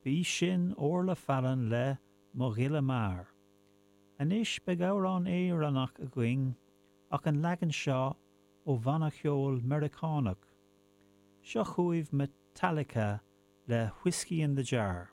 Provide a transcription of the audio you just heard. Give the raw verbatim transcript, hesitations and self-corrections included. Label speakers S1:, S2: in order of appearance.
S1: B'í sin Orla Fallon le Mo Ghile Mear. Anois beidh amhrán Éireannach againn ach an leagan seo ó bhanna ceoil Meiriceánach. Seo chugaibh Metallica le Whiskey in the Jar.